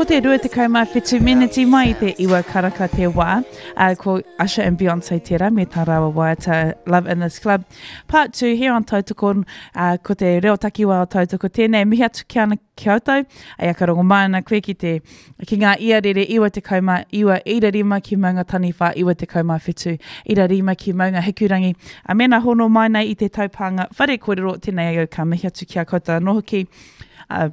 Ko te 27 meneti mai i te iwa karaka te wā. Uh, ko Usher and Beyonce tērā me tā rāua waiata Love in this Club. Part 2 here on Tautoko, uh, ko te reo takiwā o Tautoko tēnei. Mihi atu ki ana ki koutou. Ai aka rongo mai ana koe ki te ki ngā iarere 99 ira rima ki Maunga Taniwha 97 ira rima ki Maunga Hikurangi. A mēnā hono mai nei i te taupānga whare kōrero, tēnei au ka mihi atu ki a koutou anō hoki. Uh,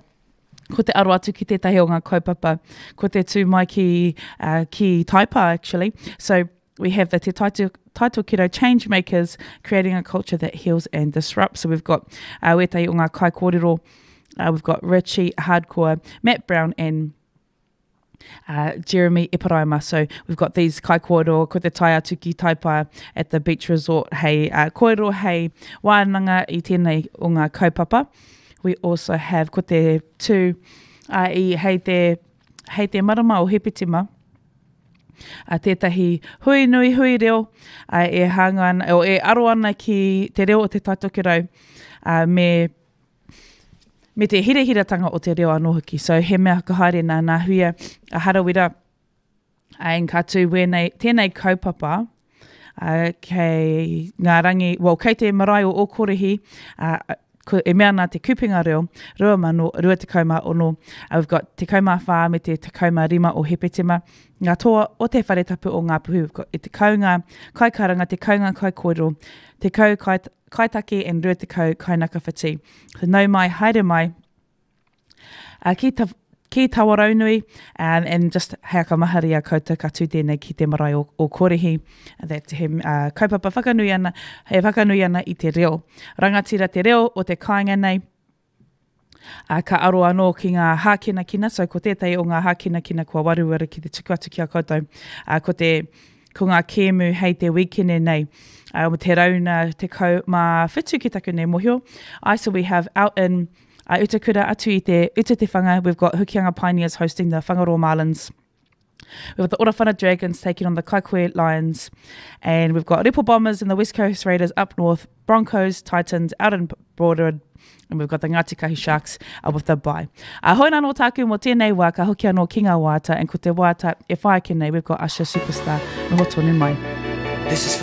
ko te aro atu ki tētahi o ngā kaupapa, ko te tū mai ki, uh, ki Taipa actually. So we have the Te Taito, Taitokerau Change Makers, creating a culture that heals and disrupts. So we've got uh, wētahi o ngā kaikōrero, uh, we've got Richie Hardcore, Matt Brown and uh, Jeremy Eparaima. So we've got these kaikōrero, ko te tae atu ki Taipa at the beach resort hei uh, kōrero hei wānanga i tēnei o ngā kaupapa. We also have ko te tū uh, i, hei te, hei te marama o Hepetima, a tētahi hui nui hui reo a, e hāngai ana, o, e aro ana ki te reo o Te Taitokerau a, me me te hirahiratanga o te reo anō hoki. So he mea whakahaere nā Nā Huia a Harawira, and ka tū wēnei, tēnei kaupapa uh, kei ngā rangi, well, kei te marae o Ōkorihi, uh, ko, e mea ana te Kupenga Reo 2026, uh, we've got 14 me te 15 o Hepetema, ngā toa o te whare tapu o Ngāpuhi, we've got e tekau ngā kaikaranga, tekau ngā kaikōrero, tekau kai, kaitaki and 20 kainakawhiti. So nau mai, haere mai, uh, ki, ta, ki Tawaraunui, um, and just hei akamahari a koutou ka tū tēnei ki te marae o, o Korihi, that he uh, kaupapa whakanui ana, he whakanui ana i te reo. Rangatira te reo o te kāinga nei, Uh, ka aro anō ki ngā hākinakina, so ko tētahi o ngā hākinakina kua waruwaru ki te tuku atu ki a koutou, uh, ko te ko ngā kēmu hei te wīkene nei, uh, te rauna 17 ki taku nei mohio. I so we have out in uh, Utakura atu i te Uta Te Whanga, we've got Hokianga Pioneers hosting the Whangaroa Marlins. We've got the Orawhana Dragons taking on the Kaikohe Lions. And we've got Ripple Bombers and the West Coast Raiders up north, Broncos, Titans out in Broadwood, and we've got the Ngāti Kahu Sharks uh, with the bye. Uh, hoi nā no tāku mō tēnei wā, ka hoki anō ki ngā wāta, and ko te wāta e whai ake nei, we've got Usher Superstar, noho tonu mai. This is.